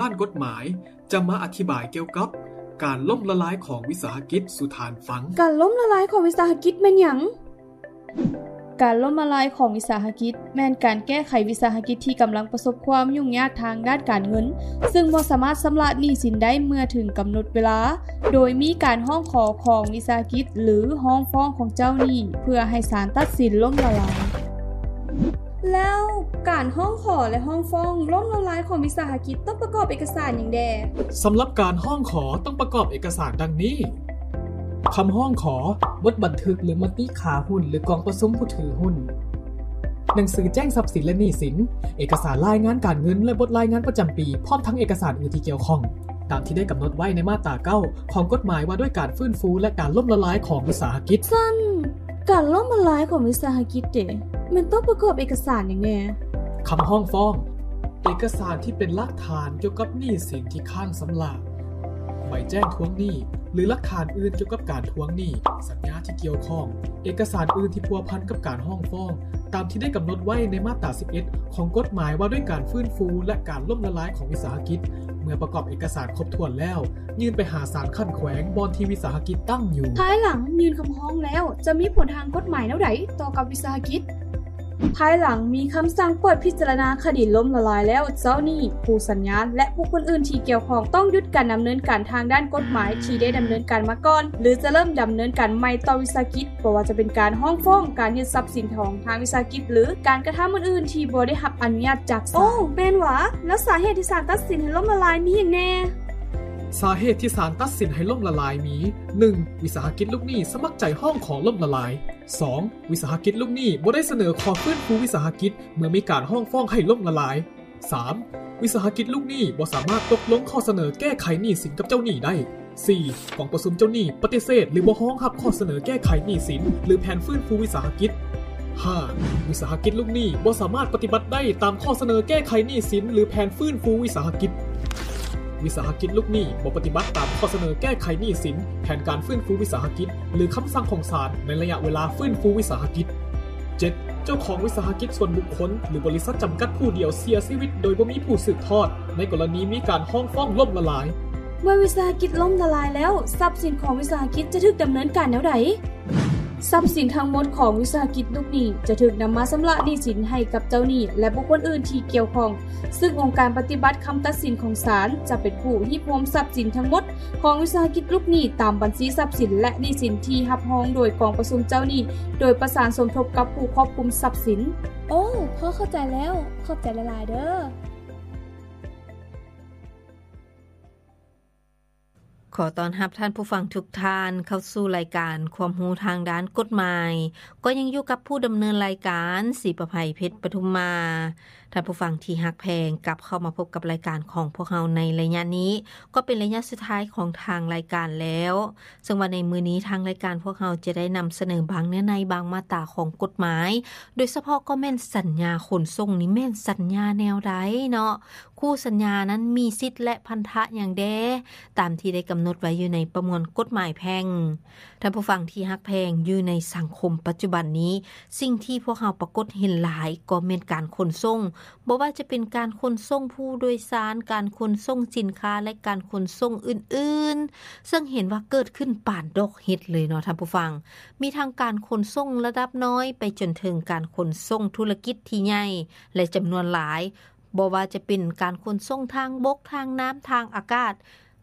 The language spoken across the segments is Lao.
ດ້ານກົດໝາຍຈະມາອະທິບາຍກ່ຽວກັບການລົ້ມລະລາຍຂອງວິສາຫະກິດສູ່ທ່ານຟັງ. ການລົ້ມລະລາຍຂອງວິສາຫະກິດແມ່ນຫຍັງ? ການລົ້ມລະລາຍຂອງວິສາຫະກິດແມ່ນການແກ້ໄຂວິສາຫະກິດທີ່ກຳລັງປະສົບຄວາມຫຍຸ້ງຍາກທາງດ້ານການເງິນ, ຊຶ່ງບໍ່ສາມາດຊຳລະໜີ້ສິນໄດ້ເມື່ອເຖິງກຳນົດເວລາ, ໂດຍມີການຮ້ອງຂໍຂອງວິສາຫະກິດ ຫຼື ຮ້ອງຟ້ອງຂອງເຈົ້າໜີ້ ເພື່ອໃຫ້ສານຕັດສິນລົ້ມລະລາຍ. ແລ້ວການຮ້ອງຂໍ ແລະ ຮ້ອງຟ້ອງລົ້ມລະລາຍຂອງວິສາຫະກິດຕ້ອງປະກອບເອກະສານຫຍັງແດ່? ສຳລັບການຮ້ອງຂໍຕ້ອງປະກອບເອກະສານດັ່ງນີ້: ຄຳຮ້ອງຂໍ, ບົດບັນທຶກ ຫຼື ມະຕິຂາຫຸ້ນ ຫຼື ກອງປະຊຸມຜູ້ຖືຫຸ້ນ, ໜັງສືແຈ້ງຊັບສິນ ແລະ ໜີ້ສິນ, ເອກະສານລາຍງານການເງິນ ແລະ ບົດລາຍງານປະຈຳປີ ພ້ອມທັງເອກະສານອື່ນທີ່ກ່ຽວຂ້ອງ ຕາມທີ່ໄດ້ກຳນົດໄວ້ໃນມາດຕາເກົ້າ ຂອງກົດໝາຍວ່າດ້ວຍການຟື້ນຟູ ແລະ ການລົ້ມລະລາຍຂອງວິສາຫະກິດ. ຊັ້ນ ການລົ້ມລະລາຍຂອງວິສາຫະກິດເດ ແມ່ນຕ້ອງປະກອບເອກະສານຫຍັງແດ່? ຄຳຮ້ອງຟ້ອງ, ເອກະສານທີ່ເປັນຫຼັກຖານກ່ຽວກັບໜີ້ສິນທີ່ຄ້າງຊຳລະ, ໃບແຈ້ງທວງໜີ້ ຫຼື ຫຼັກຖານອື່ນກ່ຽວກັບການທວງໜີ້, ສັນຍາທີ່ກ່ຽວຂ້ອງ, ເອກະສານອື່ນທີ່ພົວພັນກັບການຮ້ອງຟ້ອງ ຕາມທີ່ໄດ້ກຳນົດໄວ້ໃນມາດຕາສິບເອັດ ຂອງກົດໝາຍວ່າດ້ວຍການຟື້ນຟູ ແລະ ການລົ້ມລະລາຍຂອງວິສາຫະກິດ. ເມື່ອປະກອບເອກະສານຄົບຖ້ວນແລ້ວ, ຍື່ນໄປຫາສານຂັ້ນແຂວງບ່ອນທີ່ວິສາຫະກິດຕັ້ງຢູ່. ພາຍຫຼັງຍື່ນຄຳຮ້ອງແລ້ວ ຈະມີຜົນທາງກົດໝາຍແນວໃດຕໍ່ກັບວິສາຫະກິດ? ພາຍຫຼັງມີຄຳສັ່ງເປີດພິຈາລະນາຄະດີລົ້ມລະລາຍແລ້ວ, ເຈົ້າໜີ້, ຄູ່ສັນຍາ ແລະ ບຸກຄົນອື່ນທີ່ກ່ຽວຂ້ອງຕ້ອງຢຸດການດຳເນີນການທາງດ້ານກົດໝາຍທີ່ໄດ້ດຳເນີນການມາກ່ອນ ຫຼື ຈະເລີ່ມດຳເນີນການໃໝ່ຕໍ່ວິສາຫະກິດ, ບໍ່ວ່າຈະເປັນການຮ້ອງຟ້ອງ, ການຍຶດຊັບສິນຂອງທາງວິສາຫະກິດ ຫຼື ການກະທຳອື່ນໆທີ່ບໍ່ໄດ້ຮັບອະນຸຍາດຈາກສານ. ໂອ້ ແມ່ນຫວາ? ແລ້ວສາເຫດທີ່ສານຕັດສິນໃຫ້ລົ້ມລະລາຍມີຫຍັງແດ່? ສາເຫດທີ່ສານຕັດສິນໃຫ້ລົ້ມລະລາຍມີ: ໜຶ່ງ ວິສາຫະກິດລູກໜີ້ສະໝັກໃຈຮ້ອງຂໍລົ້ມລະລາຍ. ສອງ ວິສາຫະກິດລູກໜີ້ບໍ່ໄດ້ສະເໜີຂໍຟື້ນຟູວິສາຫະກິດເມື່ອມີການຮ້ອງຟ້ອງໃຫ້ລົ້ມລະລາຍ. ສາມ ວິສາຫະກິດລູກໜີ້ບໍ່ສາມາດຕົກລົງຂໍ້ສະເໜີແກ້ໄຂໜີ້ສິນກັບເຈົ້າໜີ້ໄດ້. ສີ່ ກອງປະຊຸມເຈົ້າໜີ້ປະຕິເສດ ຫຼື ບໍ່ຮອງຮັບຂໍ້ສະເໜີແກ້ໄຂໜີ້ສິນ ຫຼື ແຜນຟື້ນຟູວິສາຫະກິດ. ຫ້າ ວິສາຫະກິດລູກໜີ້ບໍ່ສາມາດປະຕິບັດໄດ້ຕາມຂໍ້ສະເໜີແກ້ໄຂໜີ້ສິນ ຫຼື ແຜນຟື້ນຟູວິສາຫະກິດ. ວິສາຫະກິດລູກໜີ້ບໍ່ປະຕິບັດຕາມຂໍ້ສະເໜີແກ້ໄຂໜີ້ສິນ, ແຜນການຟື້ນຟູວິສາຫະກິດ ຫຼື ຄຳສັ່ງຂອງສານໃນໄລຍະເວລາຟື້ນຟູວິສາຫະກິດ. ເຈັດ ເຈົ້າຂອງວິສາຫະກິດສ່ວນບຸກຄົນ ຫຼື ບໍລິສັດຈຳກັດຜູ້ດຽວເສຍຊີວິດໂດຍບໍ່ມີຜູ້ສືບທອດ ໃນກໍລະນີມີການຮ້ອງຟ້ອງລົ້ມລະລາຍ. ເມື່ອວິສາຫະກິດລົ້ມລະລາຍແລ້ວ, ຊັບສິນຂອງວິສາຫະກິດຈະຖືກດຳເນີນການແນວໃດ? ຊັບສິນທັງໝົດຂອງວິສາຫະກິດລູກໜີ້ຈະຖືກນຳມາຊຳລະໜີ້ສິນໃຫ້ກັບເຈົ້າໜີ້ ແລະ ບຸກຄົນອື່ນທີ່ກ່ຽວຂ້ອງ, ຊຶ່ງອົງການປະຕິບັດຄຳຕັດສິນຂອງສານຈະເປັນຜູ້ຮີບໂຮມຊັບສິນທັງໝົດຂອງວິສາຫະກິດລູກໜີ້ຕາມບັນຊີຊັບສິນ ແລະ ໜີ້ສິນທີ່ຮັບຮອງໂດຍກອງປະຊຸມເຈົ້າໜີ້ ໂດຍປະສານສົມທົບກັບຜູ້ຄວບຄຸມຊັບສິນ. ໂອ້ ພໍເຂົ້າໃຈແລ້ວ. ຂອບໃຈຫຼາຍໆເດີ້. ຂໍຕ້ອນຮັບທ່ານຜູ້ຟັງທຸກທ່ານເຂົ້າສູ່ລາຍການຄວາມຮູ້ທາງດ້ານກົດໝາຍ. ກໍຍັງຢູ່ກັບຜູ້ດຳເນີນລາຍການ ສີປະໄພ ເພັດປະທຸມມາ. ທ່ານຜູ້ຟັງທີ່ຮັກແພງ, ກັບເຂົ້າມາພົບກັບລາຍການຂອງພວກເຮົາໃນໄລຍະນີ້ ກໍເປັນໄລຍະສຸດທ້າຍຂອງທາງລາຍການແລ້ວ. ເຊິ່ງວ່າໃນມື້ນີ້ທາງລາຍການພວກເຮົາຈະໄດ້ນຳສະເໜີບາງເນື້ອໃນ, ບາງມາດຕາຂອງກົດໝາຍ, ໂດຍສະເພາະກໍແມ່ນສັນຍາຂົນສົ່ງນີ້ແມ່ນສັນຍາແນວໃດເນາະ? ຄູ່ສັນຍານັ້ນມີສິດ ແລະ ພັນທະຫຍັງແດ່ ຕາມທີ່ໄດ້ກຳນົດໄວ້ຢູ່ໃນປະມວນກົດໝາຍແພ່ງ. ທ່ານຜູ້ຟັງທີ່ຮັກແພງ, ຢູ່ໃນສັງຄົມປັດຈຸບັນນີ້, ສິ່ງທີ່ພວກເຮົາປາກົດເຫັນຫຼາຍກໍແມ່ນການຂົນສົ່ງ, ບໍ່ວ່າຈະເປັນການຂົນສົ່ງຜູ້ໂດຍສານ, ການຂົນສົ່ງສິນຄ້າ ແລະ ການຂົນສົ່ງອື່ນໆ, ເຊິ່ງເຫັນວ່າເກີດຂຶ້ນປານດອກເຫັດເລີຍເນາະທ່ານຜູ້ຟັງ. ມີທັງການຂົນສົ່ງລະດັບນ້ອຍ ໄປຈົນເຖິງການຂົນສົ່ງທຸລະກິດທີ່ໃຫຍ່ ແລະ ຈຳນວນຫຼາຍ, ບໍ່ວ່າຈະເປັນການຂົນສົ່ງທາງບົກ, ທາງນ້ຳ, ທາງອາກາດ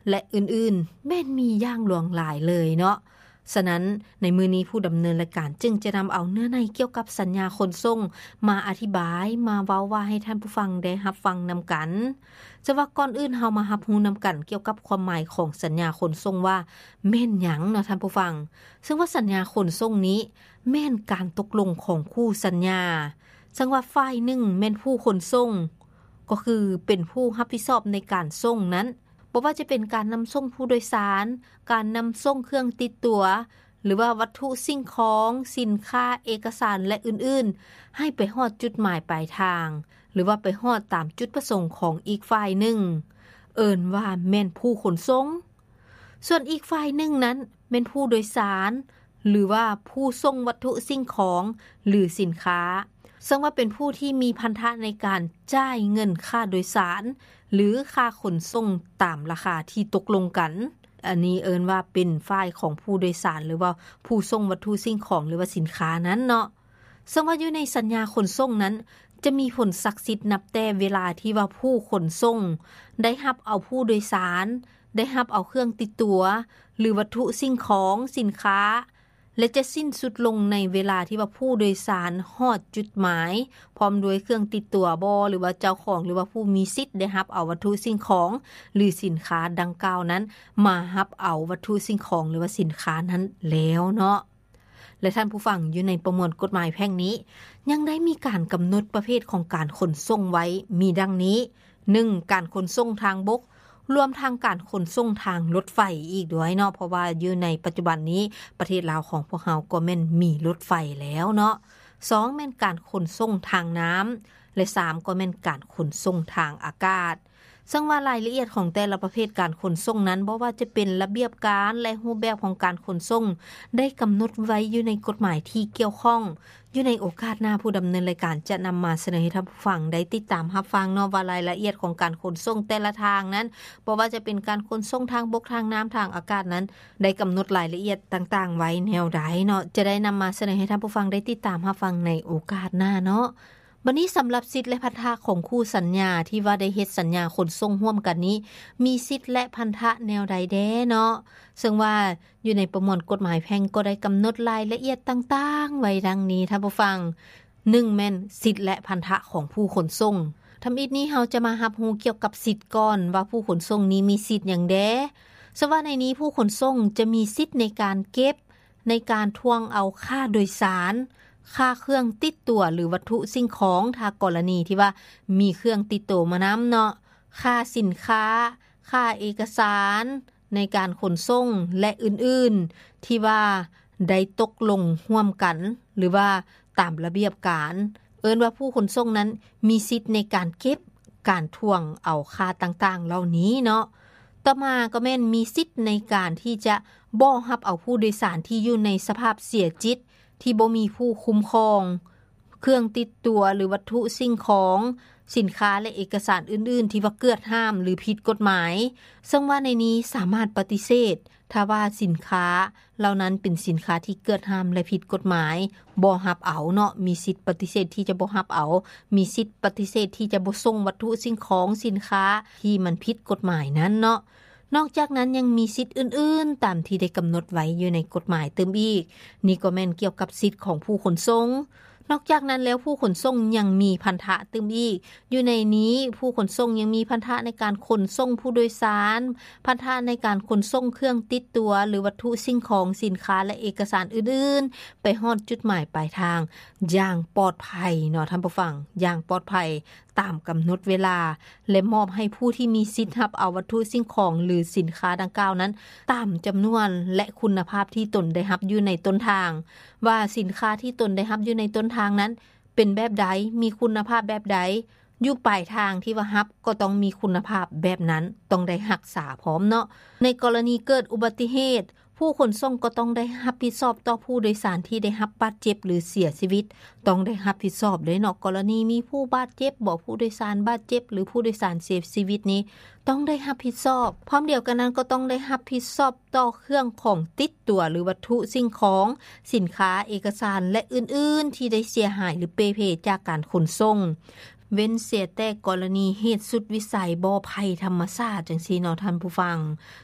ແລະ ອື່ນໆ ແມ່ນມີຢ່າງຫຼວງຫຼາຍເລີຍເນາະ. ສະນັ້ນ, ໃນມື້ນີ້ຜູ້ດຳເນີນລາຍການຈຶ່ງຈະນຳເອົາເນື້ອໃນກ່ຽວກັບສັນຍາຂົນສົ່ງມາອະທິບາຍ, ມາເວົ້າວ່າໃຫ້ທ່ານຜູ້ຟັງໄດ້ຮັບຟັງນຳກັນ. ແຕ່ວ່າກ່ອນອື່ນເຮົາມາຮັບຮູ້ນຳກັນກ່ຽວກັບຄວາມໝາຍຂອງສັນຍາຂົນສົ່ງວ່າແມ່ນຫຍັງເນາະທ່ານຜູ້ຟັງ. ເຊິ່ງວ່າສັນຍາຂົນສົ່ງນີ້ແມ່ນການຕົກລົງຂອງຄູ່ສັນຍາ. ເຊິ່ງວ່າຝ່າຍໜຶ່ງແມ່ນຜູ້ຂົນສົ່ງ, ກໍຄືເປັນຜູ້ຮັບຜິດຊອບໃນການສົ່ງນັ້ນ, ບໍ່ວ່າຈະເປັນການນຳສົ່ງຜູ້ໂດຍສານ, ການນຳສົ່ງເຄື່ອງຕິດຕົວ, ຫຼືວ່າວັດຖຸສິ່ງຂອງ, ສິນຄ້າ, ເອກະສານ ແລະ ອື່ນໆ ໃຫ້ໄປຮອດຈຸດໝາຍປາຍທາງ, ຫຼືວ່າໄປຮອດຕາມຈຸດປະສົງຂອງອີກຝ່າຍໜຶ່ງ, ເອີ້ນວ່າແມ່ນຜູ້ຂົນສົ່ງ. ສ່ວນອີກຝ່າຍໜຶ່ງນັ້ນແມ່ນຜູ້ໂດຍສານ ຫຼືວ່າຜູ້ສົ່ງວັດຖຸສິ່ງຂອງ ຫຼື ສິນຄ້າ. ເຊິ່ງວ່າເປັນຜູ້ທີ່ມີພັນທະໃນການຈ່າຍເງິນຄ່າໂດຍສານ ຫຼື ຄ່າຂົນສົ່ງຕາມລາຄາທີ່ຕົກລົງກັນ. ອັນນີ້ເອີ້ນວ່າເປັນຝ່າຍຂອງຜູ້ໂດຍສານ ຫຼືວ່າຜູ້ສົ່ງວັດຖຸສິ່ງຂອງ ຫຼືວ່າສິນຄ້ານັ້ນເນາະ. ເຊິ່ງວ່າຢູ່ໃນສັນຍາຂົນສົ່ງນັ້ນ ຈະມີຜົນສັກສິດນັບແຕ່ເວລາທີ່ວ່າຜູ້ຂົນສົ່ງໄດ້ຮັບເອົາຜູ້ໂດຍສານ, ໄດ້ຮັບເອົາເຄື່ອງຕິດຕົວ ຫຼື ວັດຖຸສິ່ງຂອງ, ສິນຄ້າ ແລະ ຈະສິ້ນສຸດລົງໃນເວລາທີ່ວ່າຜູ້ໂດຍສານຮອດຈຸດໝາຍ ພ້ອມດ້ວຍເຄື່ອງຕິດຕົວບໍ ຫຼືວ່າເຈົ້າຂອງ ຫຼືວ່າຜູ້ມີສິດໄດ້ຮັບເອົາວັດຖຸສິ່ງຂອງ ຫຼື ສິນຄ້າດັ່ງກ່າວນັ້ນ ມາຮັບເອົາວັດຖຸສິ່ງຂອງ ຫຼືວ່າສິນຄ້ານັ້ນແລ້ວເນາະ. ແລະ ທ່ານຜູ້ຟັງ, ຢູ່ໃນປະມວນກົດໝາຍແພ່ງນີ້ ຍັງໄດ້ມີການກຳນົດປະເພດຂອງການຂົນສົ່ງໄວ້ ມີດັ່ງນີ້: ໜຶ່ງ ການຂົນສົ່ງທາງບົກ ລວມທັງການຂົນສົ່ງທາງລົດໄຟອີກດ້ວຍເນາະ, ເພາະວ່າຢູ່ໃນປັດຈຸບັນນີ້ ປະເທດລາວຂອງພວກເຮົາກໍແມ່ນມີລົດໄຟແລ້ວເນາະ. ສອງ ແມ່ນການຂົນສົ່ງທາງນ້ຳ ແລະ ສາມ ກໍແມ່ນການຂົນສົ່ງທາງອາກາດ. ເຊິ່ງວ່າລາຍລະອຽດຂອງແຕ່ລະປະເພດການຂົນສົ່ງນັ້ນ, ບໍ່ວ່າຈະເປັນລະບຽບການ ແລະ ຮູບແບບຂອງການຂົນສົ່ງ ໄດ້ກຳນົດໄວ້ຢູ່ໃນກົດໝາຍທີ່ກ່ຽວຂ້ອງ. ຢູ່ໃນໂອກາດໜ້າ, ຜູ້ດຳເນີນລາຍການຈະນຳມາສະເໜີໃຫ້ທ່ານຜູ້ຟັງໄດ້ຕິດຕາມຮັບຟັງເນາະ ວ່າລາຍລະອຽດຂອງການຂົນສົ່ງແຕ່ລະທາງນັ້ນ, ບໍ່ວ່າຈະເປັນການຂົນສົ່ງທາງບົກ, ທາງນ້ຳ, ທາງອາກາດນັ້ນ, ໄດ້ກຳນົດລາຍລະອຽດຕ່າງໆໄວ້ແນວໃດເນາະ, ຈະໄດ້ນຳມາສະເໜີໃຫ້ທ່ານຜູ້ຟັງໄດ້ຕິດຕາມຮັບຟັງໃນໂອກາດໜ້າເນາະ. ບັດນີ້ສຳລັບສິດ ແລະ ພັນທະຂອງຄູ່ສັນຍາທີ່ວ່າໄດ້ເຮັດສັນຍາຂົນສົ່ງຮ່ວມກັນນີ້ ມີສິດ ແລະ ພັນທະແນວໃດແດ່ເນາະ? ເຊິ່ງວ່າຢູ່ໃນປະມວນກົດໝາຍແພ່ງກໍໄດ້ກຳນົດລາຍລະອຽດຕ່າງໆໄວ້ດັ່ງນີ້ ທ່ານຜູ້ຟັງ. ໜຶ່ງ ແມ່ນສິດ ແລະ ພັນທະຂອງຜູ້ຂົນສົ່ງ. ທຳອິດນີ້ເຮົາຈະມາຮັບຮູ້ກ່ຽວກັບສິດກ່ອນວ່າຜູ້ຂົນສົ່ງນີ້ມີສິດຫຍັງແດ່. ສະວ່າໃນນີ້ຜູ້ຂົນສົ່ງຈະມີສິດໃນການເກັບ ໃນການທວງເອົາຄ່າໂດຍສານ, ຄ່າເຄື່ອງຕິດຕົວ ຫຼື ວັດຖຸສິ່ງຂອງ, ຖ້າກໍລະນີທີ່ວ່າມີເຄື່ອງຕິດໂຕມານຳເນາະ, ຄ່າສິນຄ້າ, ຄ່າເອກະສານໃນການຂົນສົ່ງ ແລະ ອື່ນໆ ທີ່ວ່າໄດ້ຕົກລົງຮ່ວມກັນ ຫຼືວ່າຕາມລະບຽບການ. ເອີ້ນວ່າຜູ້ຂົນສົ່ງນັ້ນມີສິດໃນການເກັບ ການທວງເອົາຄ່າຕ່າງໆເຫຼົ່ານີ້ເນາະ. ຕໍ່ມາກໍແມ່ນມີສິດໃນການທີ່ຈະບໍ່ຮັບເອົາຜູ້ໂດຍສານທີ່ຢູ່ໃນສະພາບເສຍຈິດ ທີ່ບໍ່ມີຜູ້ຄຸ້ມຄອງ, ເຄື່ອງຕິດຕົວ ຫຼື ວັດຖຸສິ່ງຂອງ, ສິນຄ້າ ແລະ ເອກະສານອື່ນໆທີ່ວ່າເກືອດຫ້າມ ຫຼື ຜິດກົດໝາຍ, ເຊິ່ງວ່າໃນນີ້ສາມາດປະຕິເສດ ຖ້າວ່າສິນຄ້າ ເຫຼົ່ານັ້ນເປັນສິນຄ້າທີ່ເກືອດຫ້າມ ແລະ ຜິດກົດໝາຍ, ບໍ່ຮັບເອົາເນາະ, ມີສິດປະຕິເສດທີ່ຈະບໍ່ຮັບເອົາ, ມີສິດປະຕິເສດທີ່ຈະບໍ່ສົ່ງວັດຖຸສິ່ງຂອງ, ສິນຄ້າທີ່ມັນຜິດກົດໝາຍນັ້ນເນາະ. ນອກຈາກນັ້ນຍັງມີສິດອື່ນໆ ຕາມທີ່ໄດ້ກຳນົດໄວ້ຢູ່ໃນກົດໝາຍຕື່ມອີກ. ນີ້ກໍແມ່ນກ່ຽວກັບສິດຂອງຜູ້ຂົນສົ່ງ. ນອກຈາກນັ້ນແລ້ວ, ຜູ້ຂົນສົ່ງຍັງມີພັນທະຕື່ມອີກ. ຢູ່ໃນນີ້, ຜູ້ຂົນສົ່ງຍັງມີພັນທະໃນການຂົນສົ່ງຜູ້ໂດຍສານ, ພັນທະໃນການຂົນສົ່ງເຄື່ອງຕິດຕົວ ຫຼື ວັດຖຸສິ່ງຂອງ, ສິນຄ້າ ແລະ ເອກະສານອື່ນໆ ໄປຮອດຈຸດໝາຍປາຍທາງຢ່າງປອດໄພເນາະທ່ານຜູ້ຟັງ, ຢ່າງປອດໄພຕາມກຳນົດເວລາ ແລະ ມອບໃຫ້ຜູ້ທີ່ມີສິດຮັບເອົາວັດຖຸສິ່ງຂອງ ຫຼື ສິນຄ້າດັ່ງກ່າວນັ້ນ ຕາມຈຳນວນ ແລະ ຄຸນນະພາບທີ່ຕົນໄດ້ຮັບຢູ່ໃນຕົ້ນທາງ, ວ່າສິນຄ້າທີ່ຕົນໄດ້ຮັບຢູ່ໃນຕົ້ນທາງນັ້ນ ເປັນແບບໃດ, ມີຄຸນນະພາບແບບໃດ, ຢູ່ປາຍທາງທີ່ວ່າຮັບກໍຕ້ອງມີຄຸນນະພາບແບບນັ້ນ, ຕ້ອງໄດ້ຮັກສາພ້ອມເນາະ. ໃນກໍລະນີເກີດອຸບັດຕິເຫດ, ຜູ້ຂົນສົ່ງກໍຕ້ອງໄດ້ຮັບຜິດຊອບຕໍ່ຜູ້ໂດຍສານທີ່ໄດ້ຮັບບາດເຈັບ ຫຼື ເສຍຊີວິດ, ຕ້ອງໄດ້ຮັບຜິດຊອບເດ້ເນາະ. ກໍລະນີມີຜູ້ບາດເຈັບບໍ, ຜູ້ໂດຍສານບາດເຈັບ ຫຼື ຜູ້ໂດຍສານເສຍຊີວິດນີ້ ຕ້ອງໄດ້ຮັບຜິດຊອບ. ພ້ອມດຽວກັນນັ້ນກໍຕ້ອງໄດ້ຮັບຜິດຊອບຕໍ່ເຄື່ອງຂອງຕິດຕົວ ຫຼື ວັດຖຸສິ່ງຂອງ, ສິນຄ້າ, ເອກະສານ ແລະ ອື່ນໆ ທີ່ໄດ້ເສຍຫາຍ ຫຼື ເປ່ເພຈາກການຂົນສົ່ງ, ເວັ້ນເສຍແຕ່ກໍລະນີເຫດສຸດວິໄສ ບໍ່ໄພທຳມະຊາດ ຈັ່ງຊີ້ເນາະທ່ານຜູ້ຟັງ.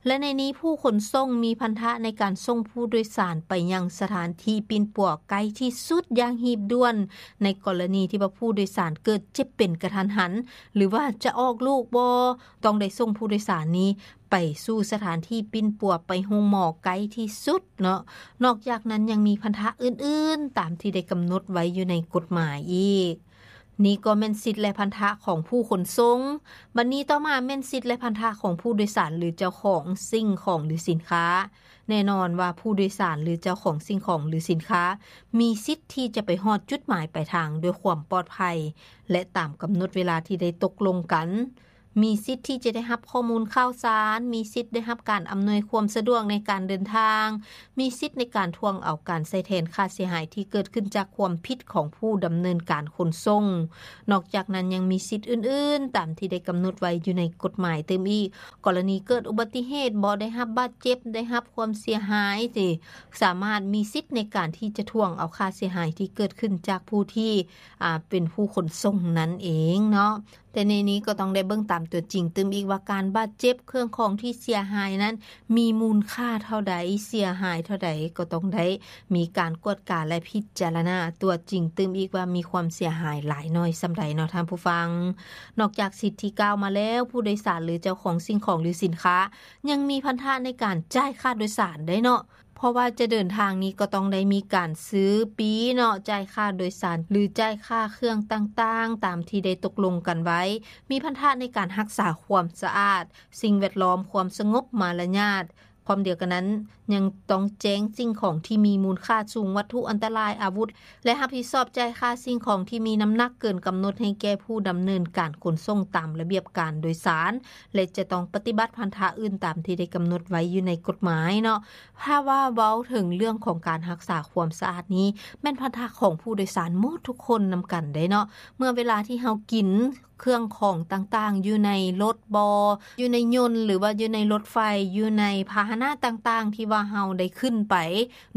ແລະ ໃນນີ້ຜູ້ຂົນສົ່ງມີພັນທະໃນການສົ່ງຜູ້ໂດຍສານໄປຍັງສະຖານທີ່ປິ່ນປົວໃກ້ທີ່ສຸດຢ່າງຮີບດ່ວນ, ໃນກໍລະນີທີ່ວ່າຜູ້ໂດຍສານເກີດເຈັບເປັນກະທັນຫັນ ຫຼືວ່າຈະອອກລູກບໍ່, ຕ້ອງໄດ້ສົ່ງຜູ້ໂດຍສານນີ້ໄປສູ່ສະຖານທີ່ປິ່ນປົວ, ໄປໂຮງໝໍໃກ້ທີ່ສຸດເນາະ. ນອກຈາກນັ້ນຍັງມີພັນທະອື່ນໆ ຕາມທີ່ໄດ້ກຳນົດໄວ້ຢູ່ໃນກົດໝາຍອີກ. ນີ້ກໍແມ່ນສິດ ແລະ ພັນທະຂອງຜູ້ຂົນສົ່ງ. ບັດນີ້ຕໍ່ມາແມ່ນສິດ ແລະ ພັນທະຂອງຜູ້ໂດຍສານ ຫຼື ເຈົ້າຂອງສິ່ງຂອງ ຫຼື ສິນຄ້າ. ແນ່ນອນວ່າຜູ້ໂດຍສານ ຫຼື ເຈົ້າຂອງສິ່ງຂອງ ຫຼື ສິນຄ້າ ມີສິດທີ່ຈະໄປຮອດຈຸດໝາຍປາຍທາງດ້ວຍຄວາມປອດໄພ ແລະ ຕາມກຳນົດເວລາທີ່ໄດ້ຕົກລົງກັນ. ມີສິດທີ່ຈະໄດ້ຮັບຂໍ້ມູນຂ່າວສານ, ມີສິດໄດ້ຮັບການອຳນວຍຄວາມສະດວກໃນການເດີນທາງ, ມີສິດໃນການທວງເອົາການໃຊ້ແທນຄ່າເສຍຫາຍທີ່ເກີດຂຶ້ນຈາກຄວາມຜິດຂອງຜູ້ດຳເນີນການຂົນສົ່ງ. ນອກຈາກນັ້ນຍັງມີສິດອື່ນໆ ຕາມທີ່ໄດ້ກຳນົດໄວ້ຢູ່ໃນກົດໝາຍຕື່ມອີກ. ກໍລະນີເກີດອຸບັດຕິເຫດບໍ, ໄດ້ຮັບບາດເຈັບ, ໄດ້ຮັບຄວາມເສຍຫາຍ ຊິສາມາດມີສິດໃນການທີ່ຈະທວງເອົາຄ່າເສຍຫາຍທີ່ເກີດຂຶ້ນຈາກຜູ້ທີ່ ອາ ເປັນຜູ້ຂົນສົ່ງນັ້ນເອງເນາະ. ແຕ່ໃນນີ້ກໍຕ້ອງໄດ້ເບິ່ງຕາມຕົວຈິງຕື່ມອີກວ່າ ການບາດເຈັບ, ເຄື່ອງຂອງທີ່ເສຍຫາຍນັ້ນມີມູນຄ່າເທົ່າໃດ, ເສຍຫາຍເທົ່າໃດ, ກໍຕ້ອງໄດ້ມີການກວດກາ ແລະ ພິຈາລະນາຕົວຈິງຕື່ມອີກວ່າ ມີຄວາມເສຍຫາຍຫຼາຍໜ້ອຍສ່ຳໃດເນາະທ່ານຜູ້ຟັງ. ນອກຈາກສິດທີ່ກ່າວມາແລ້ວ, ຜູ້ໂດຍສານ ຫຼື ເຈົ້າຂອງສິ່ງຂອງ ຫຼື ສິນຄ້າ ຍັງມີພັນທະໃນການຈ່າຍຄ່າໂດຍສານໄດ້ເນາະ. ເພາະວ່າຈະເດີນທາງນີ້ກໍຕ້ອງໄດ້ມີການຊື້ປີ້ເນາະ, ຈ່າຍຄ່າໂດຍສານ ຫຼື ຈ່າຍຄ່າເຄື່ອງຕ່າງໆ ຕາມທີ່ໄດ້ຕົກລົງກັນໄວ້, ມີພັນທະໃນການຮັກສາຄວາມສະອາດ, ສິ່ງແວດລ້ອມ, ຄວາມສະຫງົບ, ມາລະຍາດ. ພ້ອມດຽວກັນນັ້ນ, ຍັງຕ້ອງແຈ້ງສິ່ງຂອງທີ່ມີມູນຄ່າສູງ, ວັດຖຸອັນຕະລາຍ, ອາວຸດ ແລະ ຮັບຜິດຊອບຈ່າຍຄ່າສິ່ງຂອງທີ່ມີນ້ຳໜັກເກີນກຳນົດໃຫ້ແກ່ຜູ້ດຳເນີນການຂົນສົ່ງຕາມລະບຽບການໂດຍສານ ແລະ ຈະຕ້ອງປະຕິບັດພັນທະອື່ນຕາມທີ່ໄດ້ກຳນົດໄວ້ຢູ່ໃນກົດໝາຍເນາະ. ຖ້າວ່າເວົ້າເຖິງເລື່ອງຂອງການຮັກສາຄວາມສະອາດນີ້ ແມ່ນພັນທະຂອງຜູ້ໂດຍສານໝົດທຸກຄົນນຳກັນເດ້ເນາະ. ເມື່ອເວລາທີ່ເຮົາກິນເຄື່ອງຂອງຕ່າງໆ ຢູ່ໃນລົດບໍ, ຢູ່ໃນຍົນ ຫຼືວ່າຢູ່ໃນລົດໄຟ, ຢູ່ໃນພາຫະນະຕ່າງໆ ທີ່ວ່າເຮົາໄດ້ຂຶ້ນໄປ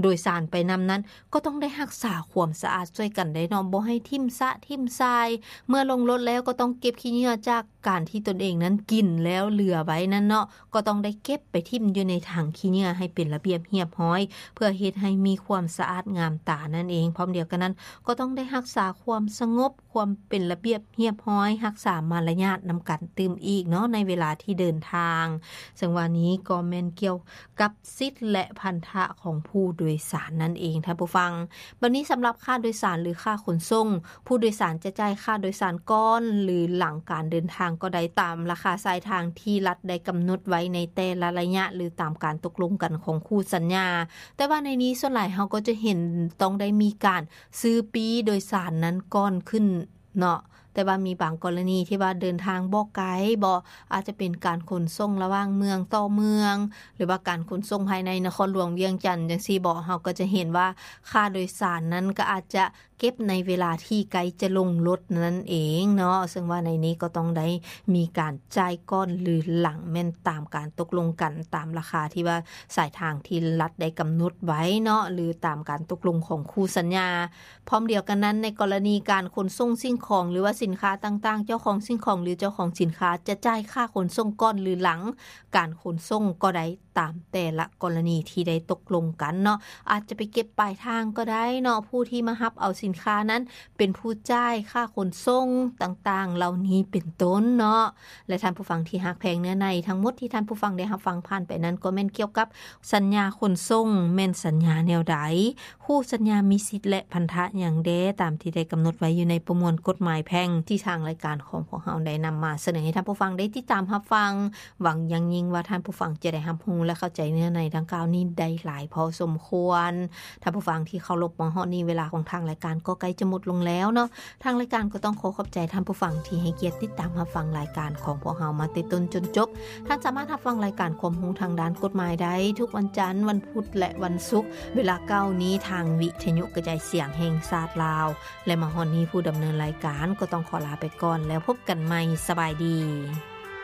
ໂດຍສານໄປນຳນັ້ນ ກໍຕ້ອງໄດ້ຮັກສາຄວາມສະອາດຊ່ວຍກັນໄດ້ເນາະ, ບໍ່ໃຫ້ຖິ້ມຊະຖິ້ມຊາຍ. ເມື່ອລົງລົດແລ້ວກໍຕ້ອງເກັບຂີ້ເຫຍື້ອຈາກການທີ່ຕົນເອງນັ້ນກິນແລ້ວເຫຼືອໄວ້ນັ້ນເນາະ, ກໍຕ້ອງໄດ້ເກັບໄປຖິ້ມຢູ່ໃນຖັງຂີ້ເຫຍື້ອໃຫ້ເປັນລະບຽບຮຽບຮ້ອຍ ເພື່ອເຮັດໃຫ້ມີຄວາມສະອາດງາມຕານັ້ນເອງ. ພ້ອມດຽວກັນນັ້ນ ກໍຕ້ອງໄດ້ຮັກສາຄວາມສະຫງົບ, ຄວາມເປັນລະບຽບຮຽບຮ້ອຍ, ຮັກສາມາລະຍາດນຳກັນຕື່ມອີກເນາະ ໃນເວລາທີ່ເດີນທາງ. ເຊິ່ງວ່ານີ້ກໍແມ່ນກ່ຽວກັບສິດ ແລະ ພັນທະຂອງຜູ້ໂດຍສານນັ້ນເອງທ່ານຜູ້ຟັງ. ບັດນີ້ສຳລັບຄ່າໂດຍສານ ຫຼື ຄ່າຂົນສົ່ງ, ຜູ້ໂດຍສານຈະຈ່າຍຄ່າໂດຍສານກ່ອນ ຫຼື ຫຼັງການເດີນທາງກໍໄດ້ ຕາມລາຄາສາຍທາງທີ່ລັດໄດ້ກຳນົດໄວ້ໃນແຕ່ລະໄລຍະ ຫຼື ຕາມການຕົກລົງກັນຂອງຄູ່ສັນຍາ. ແຕ່ວ່າໃນນີ້ສ່ວນຫຼາຍເຮົາກໍຈະເຫັນຕ້ອງໄດ້ມີການຊື້ປີ້ໂດຍສານນັ້ນກ່ອນຂຶ້ນເນາະ. ແຕ່ວ່າມີບາງກໍລະນີທີ່ວ່າເດີນທາງບໍ່ໄກບໍ, ອາດຈະເປັນການຂົນສົ່ງລະຫວ່າງເມືອງຕໍ່ເມືອງ ຫຼືວ່າການຂົນສົ່ງພາຍໃນນະຄອນຫຼວງວຽງຈັນຈັ່ງຊີ້ບໍ, ເຮົາກໍຈະເຫັນວ່າຄ່າໂດຍສານນັ້ນກໍອາດຈະ ເກັບໃນເວລາທີ່ໃກ້ຈະລົງລົດນັ້ນເອງເນາະ, ເຊິ່ງວ່າໃນນີ້ກໍຕ້ອງໄດ້ມີການຈ່າຍກ່ອນ ຫຼື ຫຼັງ ແມ່ນຕາມການຕົກລົງກັນ ຕາມລາຄາທີ່ວ່າສາຍທາງທີ່ລັດໄດ້ກຳນົດໄວ້ເນາະ ຫຼື ຕາມການຕົກລົງຂອງຄູ່ສັນຍາ. ພ້ອມດຽວກັນນັ້ນ, ໃນກໍລະນີການຂົນສົ່ງສິ່ງຂອງ ຫຼືວ່າສິນຄ້າຕ່າງໆ, ເຈົ້າຂອງສິ່ງຂອງ ຫຼື ເຈົ້າຂອງສິນຄ້າຈະຈ່າຍຄ່າຂົນສົ່ງກ່ອນ ຫຼື ຫຼັງການຂົນສົ່ງກໍໄດ້ ຕາມແຕ່ລະກໍລະນີທີ່ໄດ້ຕົກລົງກັນເນາະ, ອາດຈະໄປເກັບປາຍທາງກໍໄດ້ເນາະ, ຜູ້ທີ່ມາຮັບເອົາສິນຄ້ານັ້ນເປັນຜູ້ຈ່າຍຄ່າຂົນສົ່ງຕ່າງໆເຫຼົ່ານີ້ເປັນຕົ້ນເນາະ. ແລະ ທ່ານຜູ້ຟັງທີ່ຮັກແພງ, ເນື້ອໃນທັງໝົດທີ່ທ່ານຜູ້ຟັງໄດ້ຮັບຟັງຜ່ານໄປນັ້ນ ກໍແມ່ນກ່ຽວກັບສັນຍາຂົນສົ່ງ ແມ່ນສັນຍາແນວໃດ? ຄູ່ສັນຍາມີສິດ ແລະ ພັນທະຫຍັງແດ່ ຕາມທີ່ໄດ້ກຳນົດໄວ້ຢູ່ໃນປະມວນກົດໝາຍແພ່ງ ທີ່ທາງລາຍການຂອງພວກເຮົາໄດ້ນຳມາສະເໜີໃຫ້ທ່ານຜູ້ຟັງໄດ້ຕິດຕາມຮັບຟັງ. ຫວັງຢ່າງຍິ່ງວ່າທ່ານຜູ້ຟັງຈະໄດ້ຮັບຮູ້ ແລະ ເຂົ້າໃຈເນື້ອໃນດັ່ງກ່າວນີ້ໄດ້ຫຼາຍພໍສົມຄວນ. ທ່ານຜູ້ຟັງທີ່ເຄົາລົບ, ມາຮອດນີ້ເວລາຂອງທາງລາຍການກໍໃກ້ຈະໝົດລົງແລ້ວເນາະ. ທາງລາຍການກໍຕ້ອງຂໍຂອບໃຈທ່ານຜູ້ຟັງທີ່ໃຫ້ກຽດຕິດຕາມຮັບຟັງລາຍການຂອງພວກເຮົາມາແຕ່ຕົ້ນຈົນຈົບ. ທ່ານສາມາດຮັບຟັງລາຍການຄວາມຮູ້ທາງດ້ານກົດໝາຍໄດ້ທຸກວັນຈັນ, ວັນພຸດ ແລະ ວັນສຸກ ເວລາເກົ້ານີ້ ທາງວິທະຍຸກະຈາຍສຽງແຫ່ງຊາດລາວ. ແລະ ມາຮອດນີ້ຜູ້ດຳເນີນລາຍການກໍຕ້ອງຂໍລາໄປກ່ອນ, ແລ້ວພົບກັນໃໝ່. ສະບາຍດີ.